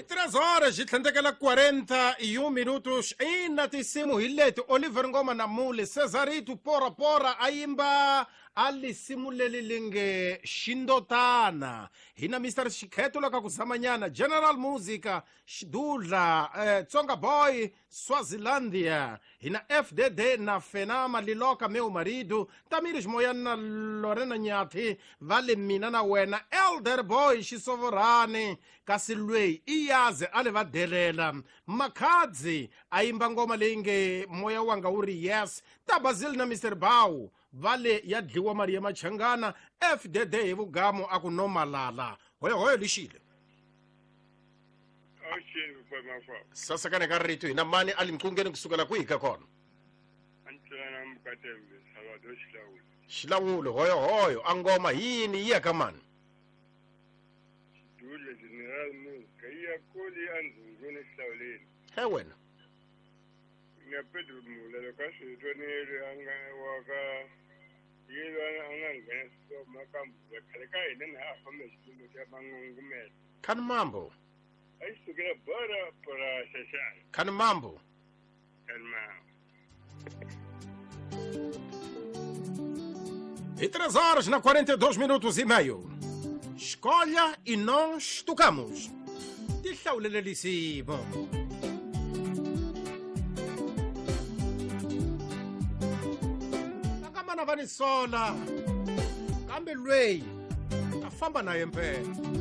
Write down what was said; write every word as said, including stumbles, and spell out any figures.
Hi três horas yi tlhandlekela quarenta e um minutos ina tinsimu hi leti Oliver Ngoma na Mule Cesarito Pora Pora a yimba a lisimu leri li nge Xindotana hina Mister Xikheto la ka ku zamanyana General Musica Xidudla eh, Tsonga Boy Swazilandia hina F D D na Fenama Liloka Meu Marido Tamires Moyana na Lorena Nyathi va le mina na wena Elder Boy Xisovorani kasi lweyi i yaze a le va delela Makhadzi a yimba ngoma leyi nge moya wanga wu ri yes Tabazil na Mister Bawu vale ya dliwa mali ya Machangana F D D hi vugamu a ku no malala hoyo hoyo lixile sasakane ka rito hina mani a limqungeni kusukela kwihi ka kona Xilawulo hoyo hoyo a ngoma yini yi ya ka mani he wena na Pedro Mulelo ka switwanele a nga wa ka yilo a nga nghena makambu khale ka hina na a famba xilungu xa mangungumela khani mambo a yi sukela bora bora xaxana khani mambo khani mambo E três horas na quarenta e dois minutos e meio. Escolha e nós tocamos. Tihlawulelelisivo. Akamana vanisola. Kambe lweyi a famba na yempela.